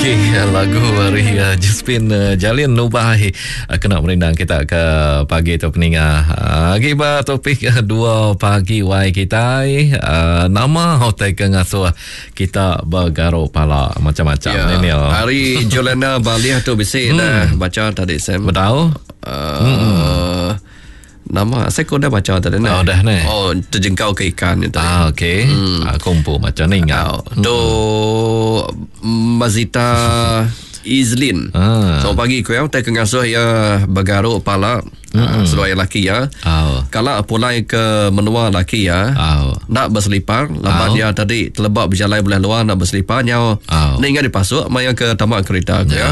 Okey, lagu hari uh, Josephine uh, Jalin Nubai uh, kena merindang kita ke pagi tu peninga. Uh, agi ba topik uh, dua pagi wai kita uh, nama hotel ke ngasuh kita bergaruk pala macam-macam Ya. ni ni. Hari Jolana Baliah tu bisi dah baca tadi Sam. Betul? Uh, Nama saya kau dah baca tadi Oh, dah ni. Oh, terjengkau ke ikan ni tadi. Ah, okey. Hmm. Aku pun macam ni ingat. Oh, tu Mazita Izlin. Ah. Selamat pagi kau yang tak kengasuh ya bergaruk pala mm seluar laki ya. Oh. Kalau pulai ke menua laki ya. Oh. Nak berselipar Lepas Au. dia tadi Terlebak berjalan belah luar Nak berselipar Nyau Au. Ni ingat dipasuk Maya ke tamak kereta aku ya. Ya.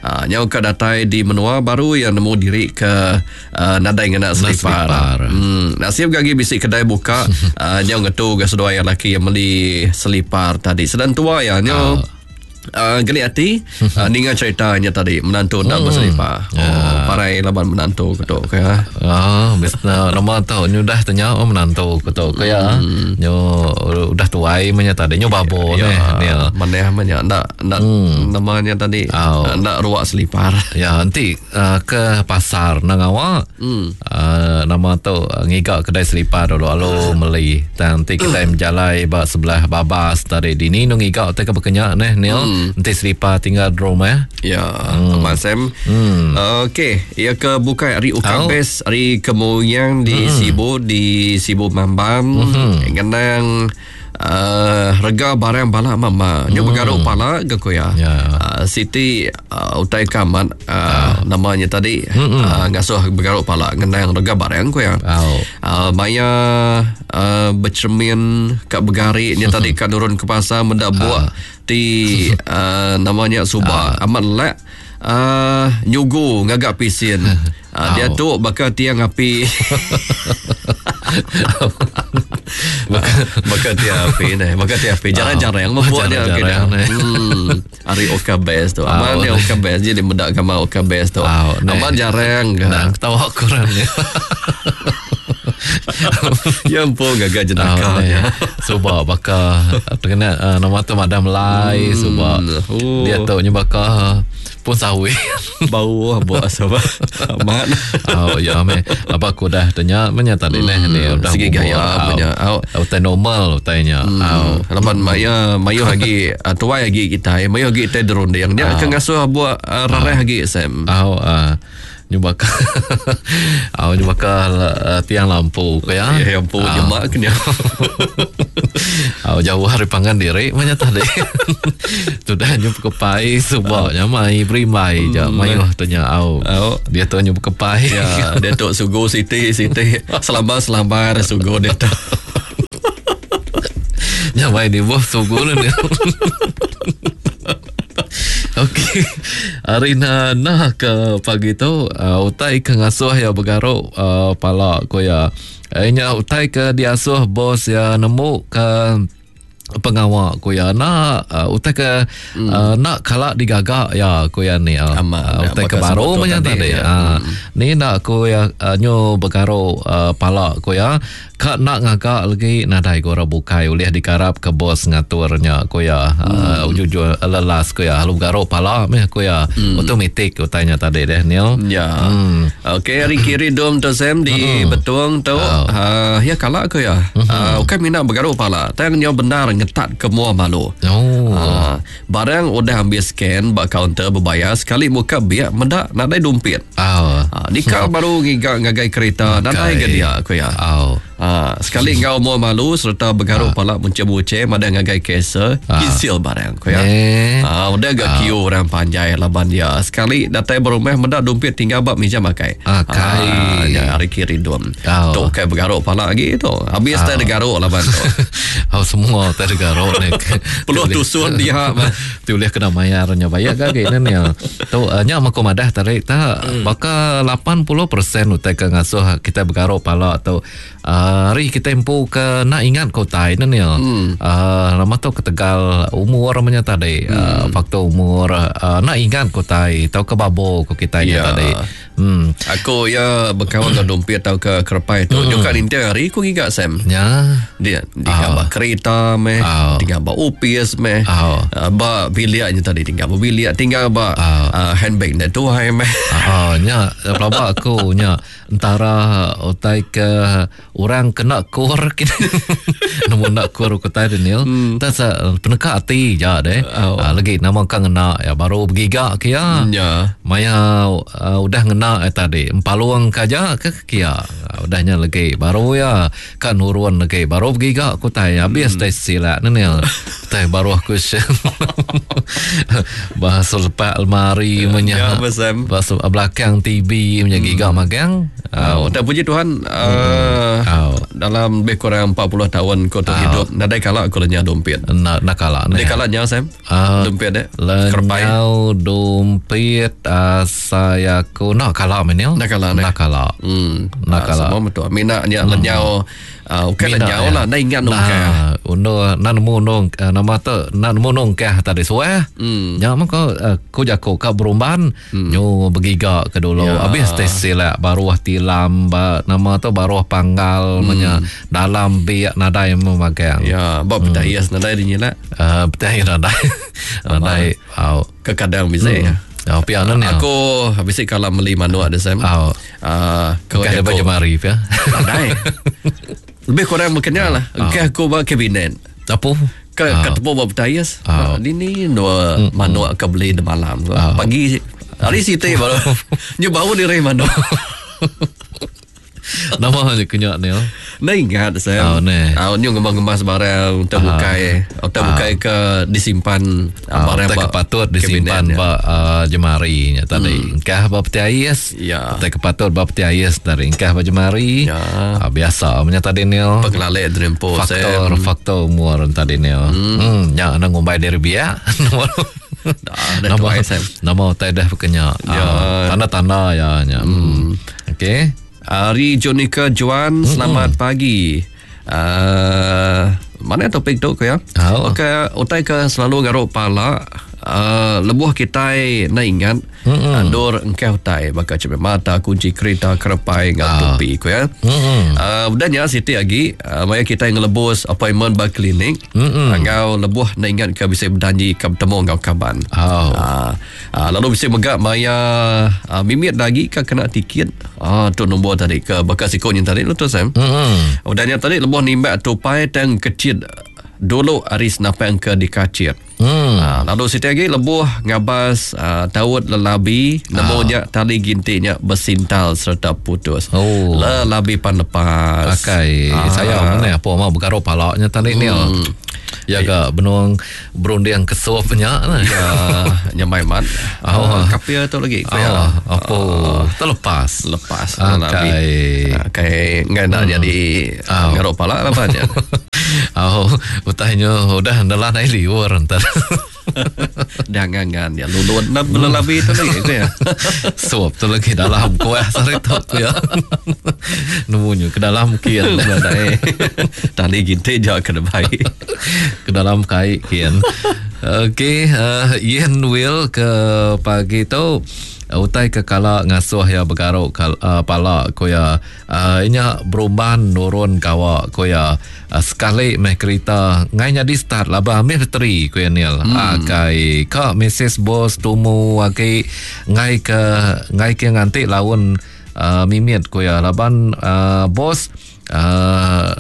Ha, nyau ke datai di menua Baru yang nemu diri ke uh, Nadai ngena selipar, selipar. Nasib gagi bisik kedai buka uh, Nyau ngetu ke seduai yang laki Yang beli selipar tadi Sedang tua ya Nyau geli hati uh, Ninga ceritanya tadi Menantu nak berselipar Oh, parai laban menantu ketuk ke ya. Ah, biasa nama tu nyu dah tanya oh menantu ku tu ku ya. Nyu udah tuai menya tadi nyu babo Ya, ni ni. mana mana nak nak namanya tadi Au. nak ruak selipar. Ya, nanti uh, ke pasar nang awak. Uh, nama tu uh, ngigak kedai selipar dulu alu meli. Dan nanti kita menjalai ba sebelah babas tadi dini nu ngigak te ke berkenyak neh ni. Nanti selipar tinggal di rumah. Ya, hmm. Abang Sam. Okey, ia ke bukai hari Ukabes, hari Kemuyang di Sibu di Sibu Mambam. Ngenang rega barang balak mama. Nyu bergaruk pala ke ko ya. Ya. Siti utai kamat namanya tadi ngasuh bergaruk pala ngenang rega barang ko ya. Au. Maya bercermin kat bergarik ni tadi kat turun ke pasar mendak buak ti namanya suba amat lek nyugu ngagak pisin. Dia tu bakal tiang api. Bakal tiang api ni, bakal tiang api. Jarang-jarang membuat dia Jarang-jarang kena. ni. Hari Oka Best tu. Amal dia Oka Best jadi mendak gambar Oka Best tu. Au, ni. Amal jarang ke. Nah, ketawa kurang ni. Ya ampun gagak jenaka Ah, ya. Suba baka terkena nama tu Madam Lai suba. Oh. Dia tu nya baka pun sawit. Bau buat sebab amat. Oh ya me. Apa aku dah tanya menya tadi neh ni udah Segi bubur. gaya Au. punya. Au. Utai normal utainya. Au. Laban maya mayu lagi tuai lagi kita, mayu lagi kita derunding. Dia akan ngasuh buat rareh lagi Sam. Au ah nyu baka. Au nyu baka tiang lampu ko ya. Ya ampun jemak kena. Au jauh hari pangan diri menya tadi. Sudah nyu kepai suba nya mai berimbai je mayu tanya au. Au. Dia tu nyu kepai. Ya, dia tu sugu siti siti selambar-selambar sugu dia tu. Nya mai di bawah sugu ni. Okey. Hari na nah ke pagi tu utai ke ngasuh ya bergaruk pala ko ya. Nya utai ke diasuh bos ya nemu ke pengawak ko ya nak utai ke nak kalak digagak ya ko ya ni Amat, ya, utai ke bakal baru sebut tu macam tadi, tadi ya. Ni nak ko ya nyo bergaruk pala ko ya kak nak ngagak lagi nadai ko orang bukai ulih dikarap ke bos ngaturnya ko ya ujung-ujung lelas ko ya lalu bergaruk pala meh ko ya automatik utainya tadi deh Neil. Ya. Okey, hari kiri dom tu Sam di Betung tu. Oh. Ya kalak ke ya. Bukan minat bergaruk pala. Tang nyo benar ngetat ke mua malu. Oh. Barang udah ambil scan bak kaunter berbayar sekali muka biak mendak nadai dumpit. Oh. Nikah baru ngigak ngagai kereta nadai ke dia aku ya. Oh. Sekali ngau mua malu serta bergaruk pala muncul-muncul mada ngagai kesa kisil barang aku ya. Eh. Udah gak queue orang panjai laban dia. Sekali datai berumah mendak dumpit tinggal bak meja makai. Kai. Ya, hari kiri dom. Oh. Tu kai bergaruk pala lagi tu. Habis tak ada garuk laban tu. Oh, semua tak ada garuk ni. Peluh tusun dia. Tu boleh kena bayarnya bayar ke ni ni. Tu nya mako madah tarik tak baka 80% utai ke ngasuh kita bergaruk pala tu. Hari kita empu ke nak ingat ko tai ni ni. Nama tu ketegal umur namanya tadi. Faktor umur nak ingat ko tai tau ke babo ko kita ni Ya. tadi. Hmm. Aku ya bekaul enggau dompet tauka kerepai tu. Nyuka ninting hari aku ngiga Sam. Ya. Dia tinggal ba kereta meh, tinggal ba opis meh, ba bilik nya tadi tinggal ba bilik, tinggal ba handbag nya tuai meh. Oh, nya pelaba aku nya entara utai ke orang kena kur kini. Nemu enda kur ku utai Daniel. Hmm. Tas peneka ati ja deh. Oh. Lagi nama ka ngena ya baru begiga ke ya. Ya. Maya udah ngena ya tadi empalung ka aja ke kia. Udah nya lagi baru ya ka nurun lagi baru begiga ku utai habis tai silak Daniel. Tai baru aku Bahasa lepak lemari menya. Ya, Sam. Bahasa belakang TV menya giga magang. Oh, tak puji Tuhan dalam lebih kurang 40 tahun ku tu hidup nadai kala aku lenyau dompet. Na na kala ne. Nadai kala nyau Sam. Dompet dek. Lenyau dompet saya aku nak kala menil. Nak kala ne. Nak kala. Nak kala. Semua betul. Mina nya lenyau ukai lenyau lah, nda ingat nungkah. Undo na nemu nung nama tu na nemu nungkah tadi suah. Nya mah ko ku jaku ka berumban nyu begiga ke dulu. Habis teh silak baruh tilam ba nama tu baruh panggal menya dalam biak nadai memagang. Ya, ba betayas nadai dinyila. Betayas nadai. Nadai. Au. Kekadang bisi. Oh, pia nan ya. Aku bisi kala meli manuk dia Sam. Oh. Ko Bukan jaku. jemari pia. Nadai. Lebih kurang makanya lah. Engkah aku ba kabinet. Apa? Ke oh. Ketemu ba betayas. Oh. Ini dua manuk ke beli di malam. Oh. Pagi hari siti baru. Nyu bau diri manuk. Nama je kenyak ni. Nda ingat saya. Oh, ne. Ah, nyu ngemas-ngemas barang untuk bukai, untuk bukai ke disimpan barang tak ba kepatut disimpan kabinet, ba jemari nya tadi. Engkah ba peti ais. Ya. Tak kepatut ba peti ais tadi. Engkah ba jemari. Ya. Biasa punya tadi ni. Pengelalek dreampo Faktor faktor umur tadi ni. Nya nak ngumbai diri biak. Dah Nama tuai Sam. Nama utai dah berkenyak. Ya. Tanda-tanda ya nya. Okey. Ari Jonica Juan, selamat pagi. Mana topik tu ke ya? Oh. Okey, utai ke selalu garuk pala, lebuh kita nak ingat andur engkau utai baka cermin mata, kunci kereta, kerepai ngau topi ku ya. Udah nya siti lagi, maya kita ngelebus appointment ba klinik, ngau lebuh nak ingat ke bisa berjanji ke bertemu ngau kaban. Oh. Lalu bisa megak maya mimit lagi ke kena tiket. Tu nombor tadi ke bekas ikut yang tadi lu tu Sam. Udah nya tadi lebuh nimbak tupai tang kecil dulu hari senapang ke dikacir. Lalu siti lagi lebuh ngabas taut lelabi nemunya tali gintinya bersintal serta putus. Oh. Lelabi pan lepas. Akai saya mana apa mau bergaruk palaknya tadi ni. Ya ke benung berunding kesupnya lah. Ya, nyamai mat. Oh. Kapia tu lagi. Oh, apa terlepas. Lepas. Akai. Akai enggak nak jadi ngaruk palak lah banyak. Oh, utahnya udah nelan air liur entar. Dangangan ya lulun nak lelabi tu lagi tu ya. Suap tu lagi dalam kuah sari tu ya. Nemunya ke dalam kian. Badai. Tali ginte jak ke baik. Ke dalam kai kian. Okey, Ian Will ke pagi tu utai ke kala ngasuh ya bergaruk pala ko ya inya berumban nurun kawa ko ya sekali meh kereta ngai nyadi start laba ambil bateri ko ya Neil. Kai ka Mrs Boss tumu agi ngai ke nganti laun mimit ko ya laban bos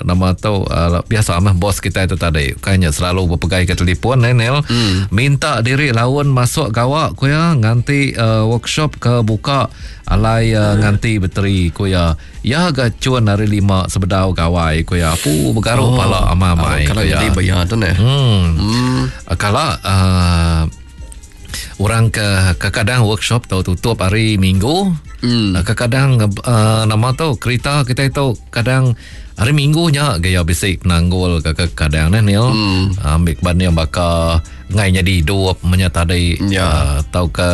nama tu biasa mah bos kita itu tadi kayaknya selalu berpegai ke telefon Neil. Minta diri laun masuk gawak ko ya nganti workshop ke buka alai nganti bateri ko ya ya gacun hari 5 sebedau gawai ko ya pu bergaruk pala amai-amai kalau ya. Jadi bayar tu ne. Kalau orang ke kadang workshop tau tutup hari Minggu. Kadang nama tu kereta kita itu kadang hari Minggu nya gaya bisik penanggul ke kadang ni Neil. Ambil ban yang bakar ngai jadi hidup menya tadi atau ke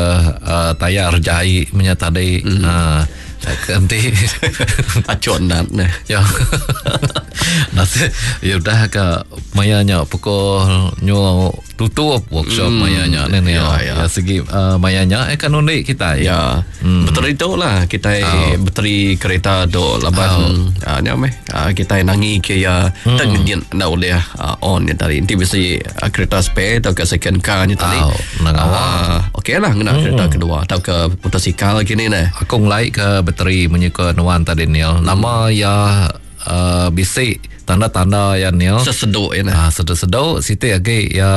tayar jahit menya tadi. Enti Acuk nat neh. Ya. Nasib ya udah ke maya nya pukul nyu tutup workshop mm. maya nya ne ya, ya. ya segi uh, maya nya eh kan undi kita ya mm. bateri tu lah kita oh. bateri kereta tu laban oh. uh, nya meh uh, kita nangi ke ya mm. tak ngenyit nda ulih uh, on nya tadi enti bisi uh, kereta spare atau ke second car nya tadi oh, uh, okey lah ngena mm. kereta kedua atau ke motosikal kini neh aku ngelai ke bateri menyuka nuan tadi Neil nama mm. ya uh, bisi tanda-tanda ya Neil seseduk ya nah uh, seduk-seduk siti agi ya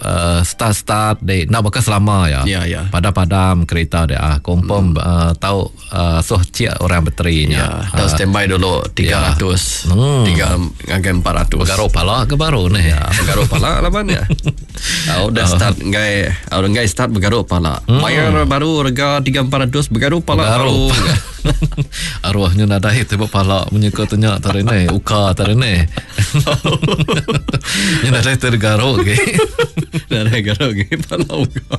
uh, start-start dek nak baka selama ya. Ya ya. Padam-padam kereta dia ah confirm mm. uh, tau uh, suh cik orang baterinya. Ya, tau uh, standby dulu 300 ya. 3 ngagai 400. Begaruk pala ke baru ni. Ya, begaruk pala lah ban ya. Uh, udah start ngai uh, ngai start begaruk pala. Mm. Bayar baru rega 3 400 begaruk pala begaruk. baru. Arwahnya nadai tiba pala menyuka tanya tadi ni, uka tadi ni. Nya nadai tergaruk ke. Nadai garuk ke pala uka.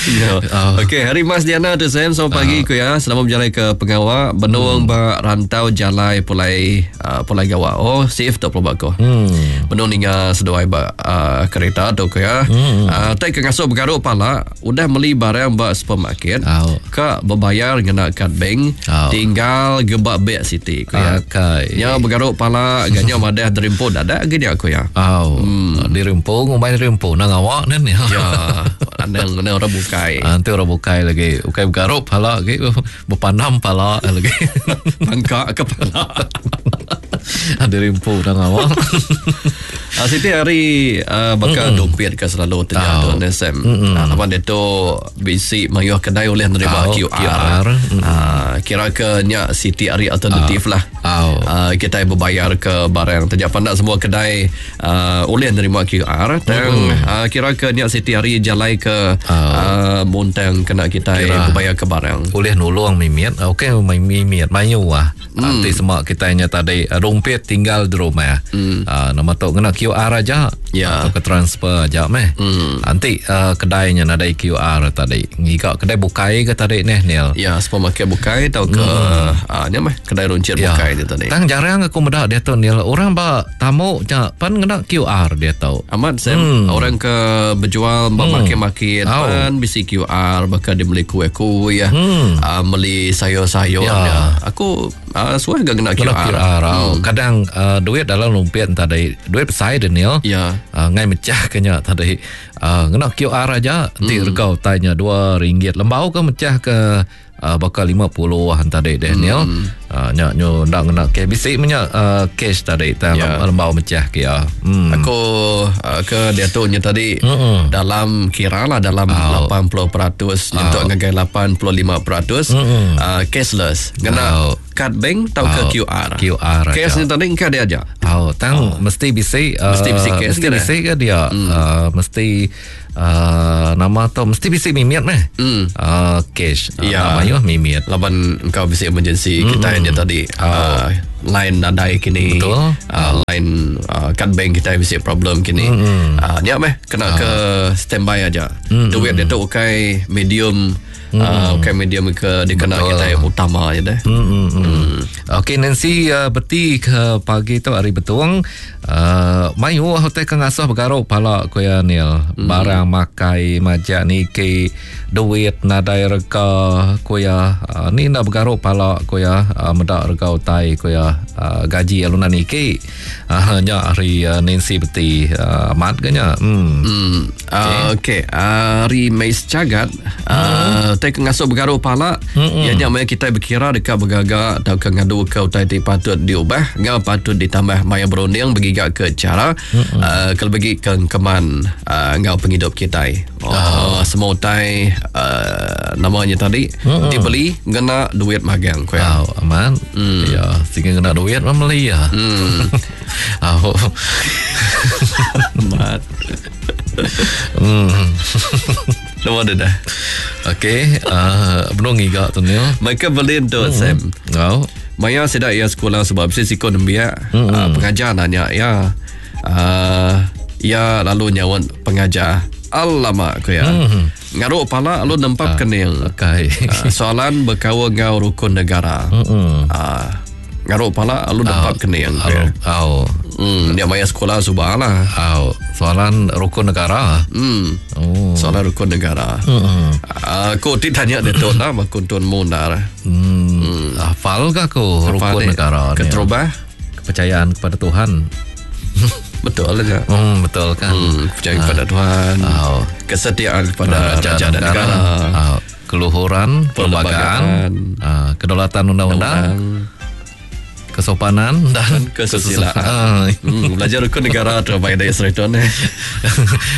Ya. Okey, hari Mas Diana tu Sam, selamat pagi ku ya. Selamat berjalan ke pengawa benung ba rantau jalai pulai uh, pulai gawa. Oh, safe tu pelaba ko. Hmm. Benung ninga seduai ba uh, kereta tu ku ya. Hmm. Uh, tai ke ngasuh begaruk pala, udah meli barang ba supermarket. Oh. Ka bebayar ngena kad bank, Oh. tinggal gebak beg siti ku ya. Akai. Nya begaruk pala ganya madah derimpun ada ke nya ku ya. Oh, hmm. Dirempu ngumbai dirempu nang awak ni. Ya, anang anang orang bukai. Ah, nanti orang bukai lagi. Bukai bergaruk pala lagi. Berpanam pala lagi. Pangkak kepala. Dirempu nang awak. Ah, Siti hari uh, bakal mm dompet ke selalu terjatuh oh. Sam. Mm -mm. Laban dia tu bisi mayuh kedai oleh nerima Oh, QR. QR. Mm. Ah, kira ke nya Siti hari alternatif lah. Oh. Ah, kita berbayar ke barang. Terjap pandak semua kedai uh, oleh nerima QR. Tang mm. uh, kira ke nya Siti hari jalai ke oh. uh, muntang kena kita Kira. berbayar ke barang. Boleh nulung mimit. Okey mimit mayu ah. Nanti semua kita nya tadi dompet tinggal di rumah. Mm. Uh, nama tu kena QR aja. Ya. Atau ke transfer aja meh. Mm. Nanti uh, kedainya nadai QR tadi. Ngiga kedai bukai ke tadi ni Neil. Ya, supermarket bukai atau ke mm. uh, nya meh kedai runcit Ya. bukai ni tadi. Tang jarang aku meda dia tu Neil. Orang ba tamu nya pan kena QR dia tu. Amat Sam hmm. Orang ke berjual hmm. Market-market Oh. Pan bisi QR Bahkan dia beli kuih-kuih hmm. uh, Beli sayur-sayur Ya. ya. Aku uh, Suah gak kena Kena QR, QR. Hmm. Kadang uh, duit dalam lumpit tadi duit besar Daniel. Ya. Uh, ngai mecah kenya tadi. Uh, kena QR aja nanti hmm. rega utainya RM2. Lembau ke mecah ke uh, bakal 50-an tadi Daniel. Hmm. Uh, nya nyo ndak kena cash bisi punya uh, cash tadi tang Ya. lembau mecah ke ya. Hmm. Aku uh, ke dia tu nya tadi mm dalam kira lah dalam oh. 80% nyentuk ngagai 85% mm uh, cashless. Kena Oh. kad bank atau ke QR. QR Cash aja. ni tadi engkau dia aja. Oh, tang oh. mesti bisi uh, Mesti bisi cash mesti ke bisi ke dia mm. uh, mesti uh, nama tu mesti bisi mimit meh. Mm. Uh, cash. Uh, Ya. Nama yo mimit. Laban engkau bisi emergency mm. kita nya tadi oh. uh, line nadai kini Betul. uh, line uh, kad bank kita bisi problem kini mm. uh, nya meh kena oh. ke standby aja mm. duit dia tu ukai medium mm. uh, ukai medium ke dikena Betul. kita utama je deh Hmm, hmm, hmm. Okey Nancy uh, beti ke pagi tu hari betung uh, mayu hotel ke ngasuh bergaruk pala ku ya Neil. Barang makai majak niki duit nadai rega ku ya uh, ni nak bergaruk pala ku ya uh, medak rega utai ku ya uh, gaji alunan niki uh, nya hari uh, Nancy beti uh, amat ke nya. Hmm. Hmm. Uh, okey, hari Mais Cagat uh, tai ke ngasuh bergaruh pala mm ianya maya kita berkira dekat bergagak atau ke ngadu ke utai ti patut diubah ngau patut ditambah maya berunding bergigak ke cara uh, kalau bagi ke keman uh, ngau penghidup kita. Oh, oh. semua utai uh, namanya tadi mm dibeli ngena duit magang ku ya. Oh, aman. Mm. Ya, sehingga kena duit mah beli ya. Mm. oh. Amat. Hmm. Nama dia dah. Okey, uh, benung ngiga tu ni. Mereka beli tu Sam. Oh. Maya sedak ia sekolah sebab mesti sikon nembiak mm-hmm. uh, pengajar nanya ya uh, ya lalu nyawa pengajar Alamak ku iya. Mm-hmm. Ngaruk pala lalu nempap kening. Okay. Soalan bekaul enggau rukun negara. Mm-hmm. Ngaruk pala lalu nempap kening. Ku iya. Au. Dia maya sekolah suba lah. Au. Soalan rukun negara. Oh. Soalan rukun negara. Aku ti tanya dia tu lah aku tuan mundar. Hafal ke aku rukun negara ni? Keterubah kepercayaan kepada Tuhan. Betul lah ya. Betul kan. Kepercayaan kepada Tuhan. Oh. Kesetiaan kepada raja dan negara. Oh. Keluhuran, perlembagaan, kedaulatan undang-undang, kesopanan dan kesusilaan. Belajar rukun negara tu baik dari cerita ni.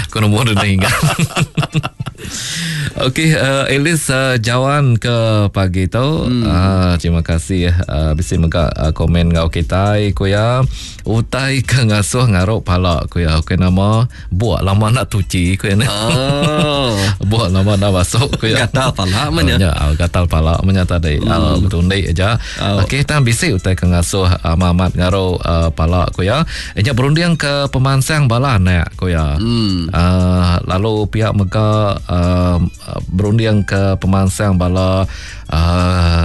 Aku nombor dah ingat. Okey, Elis Jawan ke pagi tu. Terima kasih bisi mega komen ngau kita ku ya. Utai ke ngasuh ngaruk pala ku ya. Okey nama buat lama nak tuci ku ya ni. Oh. Buat lama nak masuk ku ya. Gatal pala menya. Ya, gatal pala menya tadi. Betundik aja. Okey, tang bisi utai ke ngasuh amat ngaruk pala ku ya. Nya berunding ke pemansang bala anak ku ya. Lalu pihak mega berunding ke pemansang bala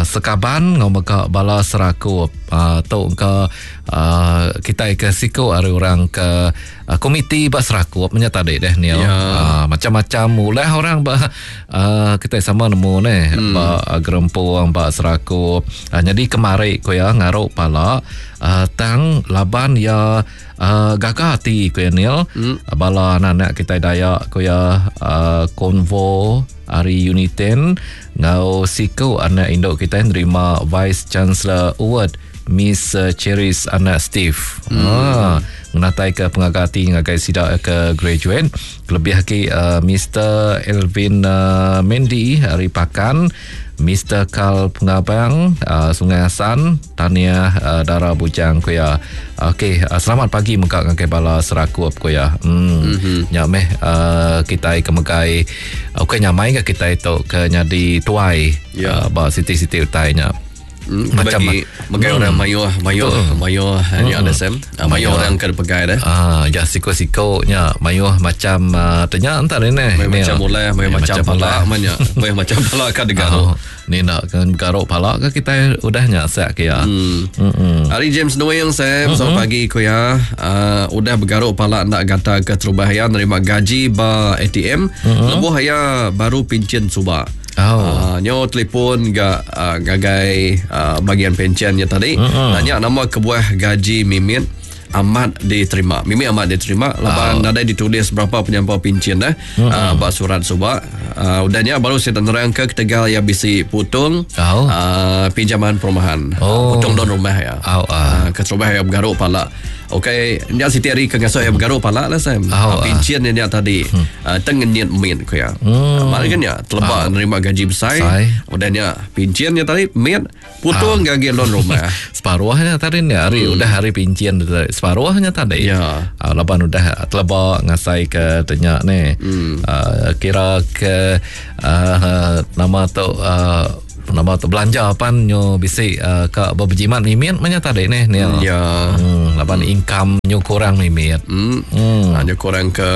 sekaban ngau mega bala serakup tu ke kita ke siku ari orang ke komiti ba serakup nya tadi deh ni. Macam-macam ulah orang ba kita sama nemu ne ba gerempung ba serakup. Jadi kemari ku ya ngaruk pala tang laban ya gaga hati ku ya Neil. Bala anak-anak kita Dayak ku ya konvo hari Uniten ngau siku anak induk kita nerima Vice Chancellor Award Miss Cheris anak Steve. Menatai ke pengagati ngagai sida ke graduate. Kelebih lagi Mr. Elvin Mendy hari Pakan, Mr. Carl Pengabang Sungai Hasan, Tania Dara Bujang ku ya. Okey, selamat pagi mega ngagai bala serakup ku ya. Nya meh kita ke megai okey nyamai ke kita tu ke nyadi tuai ba siti-siti utai nya. Macam megai orang mayuh mayuh ni ada sem. Mayuh orang ke pegai dah. Ya siko-siko nya mayuh macam tanya entar ni. Macam mulai mayuh macam pala manya. Mayuh macam pala ka degaruk. Ni nak kan garuk pala ke kita udah nya sak ke ya. Hari James Noel Sam, selamat pagi ku ya. Udah bergaruk pala nak gata ke terubah ya nerima gaji ba ATM. Lebuh ya baru pincin suba. Nyo telefon ga gagai bagian pensionnya tadi. Nanya nama kebuah gaji mimit amat diterima. Mimit amat diterima laban nadai ditulis berapa penyampau pencen dah. Ba surat suba. Udahnya baru saya terang ke ketegal ya bisi putung pinjaman perumahan. Putung don rumah ya. Keterubah ya bergaruk pala. Okey, nya siti hari ke ngasuh ya bergaruk pala lah Sam. Pencen nya tadi tengenyit min ku ya. Mari kan ya telebak nerima gaji besar. Udahnya pencen nya tadi min putung gaji loan rumah. Separuhnya tadi ni hari udah hari pencen separuhnya tadi. Ya. Laban udah telebak ngasai ke tanya ni. Kira ke nama tu nama tu belanja pan nyo bisi ka berjimat mimit manya tadi ni ni. Ya. Laban income nyo kurang mimit. Nyo kurang ke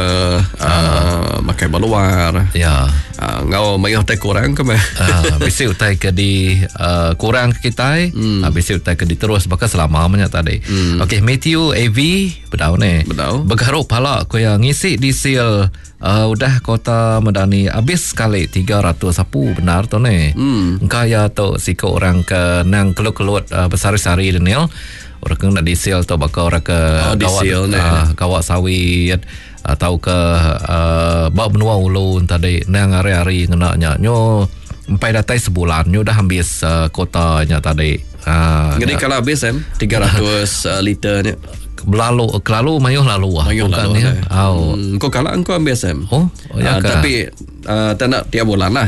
makai baluar. Ya. Ngau mayuh tai kurang ke meh. Bisi utai ke di kurang ke kita, bisi utai ke diterus bakal selama manya tadi. Okey, Matthew AV bedau ni. Bedau. Bergaruk pala ku yang ngisi diesel udah kota Medani habis sekali 300 apu benar tu ni. Engkau tu siko orang ke nang kelut-kelut besar-sari Daniel. Orang ke nak diesel tu bakal orang ke kawat, kawat sawit atau ke bak benua ulu tadi nang hari-hari ngena nya nyo empai datai sebulan nyo dah habis kotanya tadi. Jadi kalau habis 300 liter ni Belalu kelalu mayuh lalu ah. Mayuh lalu. Ya. Oh. Kau kalah engkau ambil Sam. Oh, ya tapi tak nak tiap bulan lah.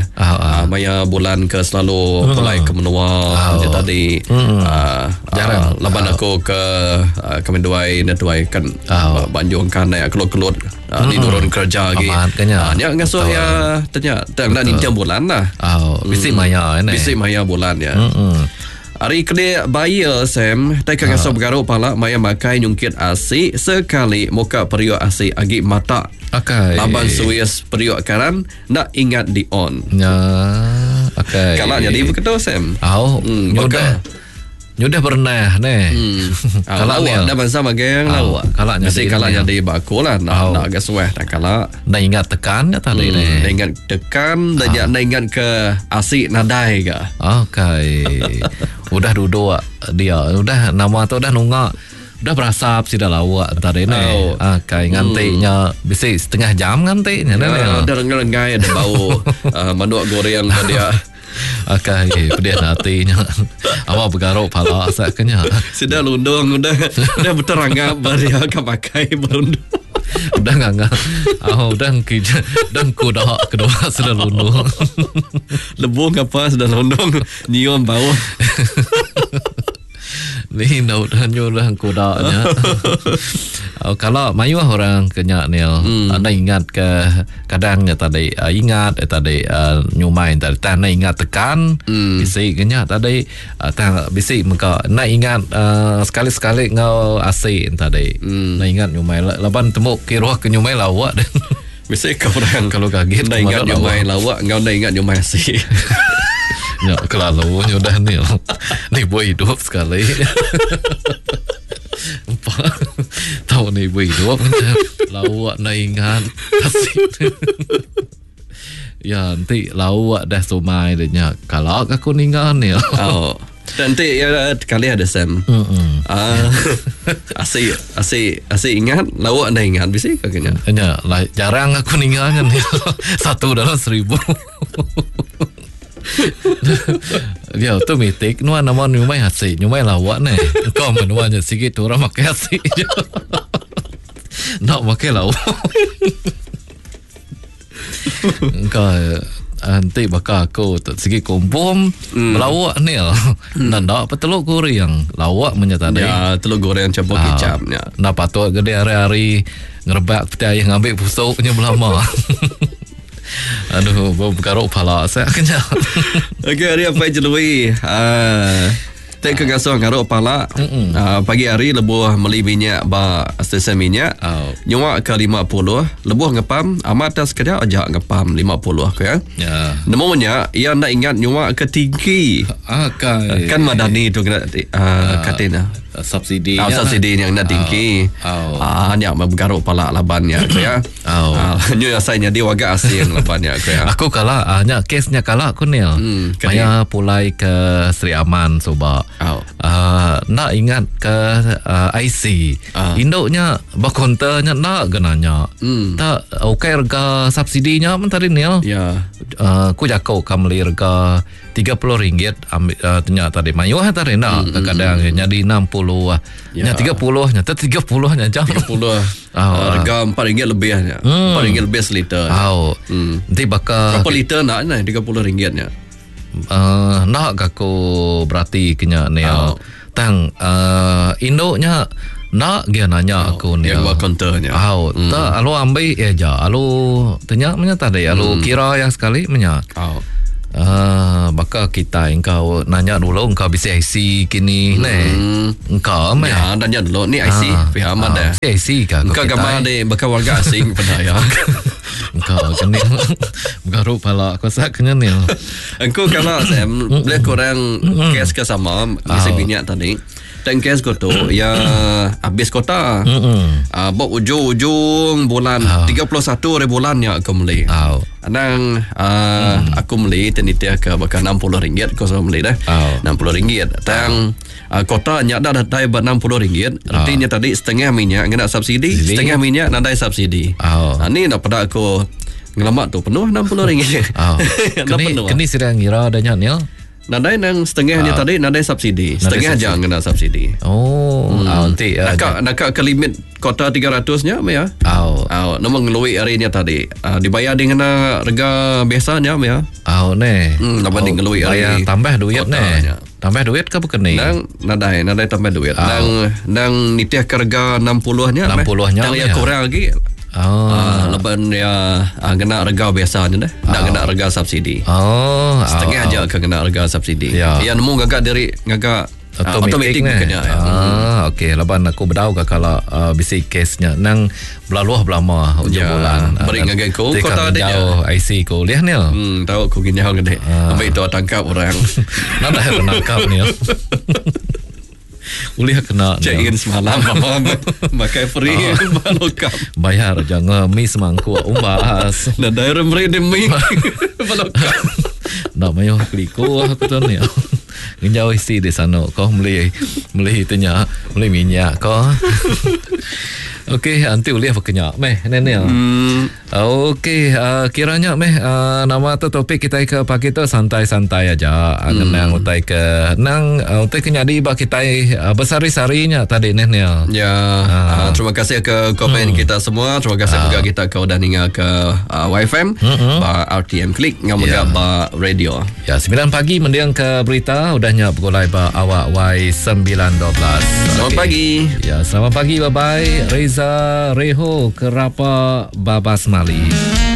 Maya bulan ke selalu pulai ke menua macam tadi. Jarang. Laban aku ke kami duai dan tuai kan Banjung kan naik kelut-kelut ni turun kerja lagi. Nya ngasuh ya tanya tak nak tiap bulan lah. Bisi maya ni. Bisi maya bulan ya. Ari kelik baie Sam, tai ke ngasuh begaru pala maya makai nyungkit asi sekali muka periuk asi agi mata. Akai. Laban suis periuk karan enda ingat di on. Nya. Akai. Kala nyadi beketu Sam. Au. Nyudah. Nyudah berenah neh. Hmm. Kala ni. Dah bansa magang lah. Kala nyadi. Bisi kala nyadi ba aku lah. Nak nak agak suah tak kala. Enda ingat tekan nya tadi hmm. neh. Enda ingat tekan, dah nya enda ingat ke asi nadai ga. Okey. Udah duduk dia, udah nama tu udah nunga. Udah berasap sida lawak tadi neh. Oh. Okey, nganti nya bisi setengah jam nganti nya neh. Ya, udah lengai-lengai ada bau uh, manuk goreng dia. Akai pedih ati nya. Awak begaruk pala asak ke nya. Sida lundung udah udah beterangap ba dia ka makai berundung. Udah nganga. Oh, udah ngki udah kuda kedua sida lundung. Lebung apa sida lundung nyium bau. Ni enda udah nyuruh kuda nya. Oh, kalau mayuh orang ke nya Neil, hmm. anda ingat ke kadang nya tadi uh, ingat eh, tadi uh, nyumai tadi tang anda ingat tekan hmm. bisi ke nya tadi uh, tang bisi mega anda ingat uh, sekali-sekali ngau asi tadi. Hmm. Anda ingat nyumai laban temu kiruh ke nyumai lawak. Bisi ke orang kalau kaget enda ingat nyumai lawak enggau enda ingat nyumai asi. Nya kelalu nya udah ni. Ni buah hidup sekali. Empat Tahu ni buah hidup lawak enda ingat asi. Ya enti lawak dah sumai dia nya kalau aku ninga ni. Oh. Nanti ya kali ada Sam. Mm Uh, asi asi asi ingat lawak anda ingat bisi ke kena. Nya lah jarang aku ninga nya ni. Satu dalam seribu. Ya tu mitik nuan nama nyumai asi nyumai lawak ni. Kau menua nya sikit tu orang makai asi je. Nak makai lawak. Engka enti baka aku tu sigi kumpum mm. lawak ni mm. Nanda pa teluk goreng lawak menya tadi. Ya, teluk goreng campur ah, kicap nya. Nda patut gede hari-hari ngerebak peti air ngambil pusuk nya belama. Aduh, bergaruk pala saya kena. Okey, hari apa jelui? Ah Tek ke ngasuh ngaruk pala uh, pagi hari lebuh meli minyak ba stesen minyak Oh. nyuak ke 50 lebuh ngepam amat tak sekejap aja ngepam 50 ke ya. Ya. Nemu nya ia nda ingat nyuak ke tinggi. Akai. Kan Madani tu kena uh, katina. Subsidi. Ah, subsidi yang nak tinggi. Oh. Ah, nya bergaruk pala labannya ke ya. Oh. Ah, nyu asai nyadi warga asing labannya ke ya. Aku kala ah, nya kesnya kala aku ni. Hmm, Maya pulai ke Sri Aman suba. Oh. Uh, nak ingat ke uh, IC. Ah. Induknya berkonternya nak ke nanya. Tak okey harga subsidinya pun tadi ni. Ya. Uh, aku jakau ka beli harga RM30 ambil uh, tanya tadi mayuh tadi nak kadang jadi 60 ah. Ya. Nya 30 nya 30 nya jam. 30 Oh, uh, harga RM4 lebih nya. RM4 lebih seliter. Au. Nanti bakal Berapa liter nak ni RM30 nya? uh, nak ke aku berarti kenya ni. Oh. Tang uh, induknya nak dia nanya aku ni. Yang buat konternya. Au, tak alu ambil ya ja. Alu tanya menya tadi, alu kira yang sekali menya. Oh. Uh, baka kita engkau nanya dulu engkau bisa IC kini hmm. ne. Engkau meh. Ya, nanya dulu ni IC pihak amat dah. Ah, IC ka Engkau gambar ni bakal warga asing pada ya. Engkau kena bergaruk pala aku sak kena ni. Engkau kalau saya boleh kurang kes ke sama ngisi minyak tadi. Dan kes ko tu ya habis kota. Ah uh, ujung-ujung bulan 31 hari bulan ya aku beli. Au. Anang uh, aku beli tenitia ke bakal RM60 kau sama beli dah. Oh. RM60. Tang uh, kota nya dah datai buat RM60. Artinya tadi setengah minyak kena subsidi, Subsidi. setengah minyak nadai subsidi. Oh. Ah, ni dah pada aku ngelamak tu penuh RM60. Oh. Dah Kini penuh. kini sedang ngira adanya ni. Nadai nang setengahnya tadi nadai subsidi. Setengah aja kena subsidi. Oh, hmm. ah, nanti uh, Nakak nakak ke limit kota 300 nya ya. Au. Ah, nama ngelui hari nya tadi. Ah, dibayar dengan harga biasanya ya. Au ne. Dapat oh, ngelui Bayar hari tambah duit ne. kotanya. Tambah duit ke bukan ni? Nang nadai nadai tambah duit. Nang nang nitih ke harga 60 nya. 60 nya, Tang ya. ya kurang lagi. Oh. Laban ya ngena rega biasa nya deh. Enda ngena rega subsidi. Oh. Setengah aja ke ngena rega subsidi. Ya. Iya nemu ngaga diri ngaga automatic uh, nya. Ah, okey laban aku bedau ga kala uh, bisi kes nya nang belaluh belama ujung ya, bulan. Beri ngagai ku kota dia. IC ku ulih ni. Hmm, tau ku ginyau gede. Ambil tu tangkap orang. Nadai tangkap ni. Ulih kena check in semalam mama makai free oh. balokap. Bayar jangan mi semangkuk umbas. Nadai orang beri dia mi balokap. Nak mayuh keliku aku tu ni. Ngenjau isi di sana kau beli beli itu nya beli minyak kau. Okey, nanti ulih berkenyak meh ni ni. Okey, kiranya meh nama tu topik kita ke pagi tu santai-santai aja. Ngenang utai ke nang utai ke nyadi ba kitai besari-sarinya tadi neh ni. Ya, terima kasih ke komen kita semua. Terima kasih juga kita ke udah ninga ke YFM ba RTM Click ngau mega ba radio. Ya, 9 pagi mendiang ke berita udahnya bergulai ba awak Y912. Selamat Okey. pagi. Ya, selamat pagi. Bye-bye. Reza Reho Kerapa Babas Mali.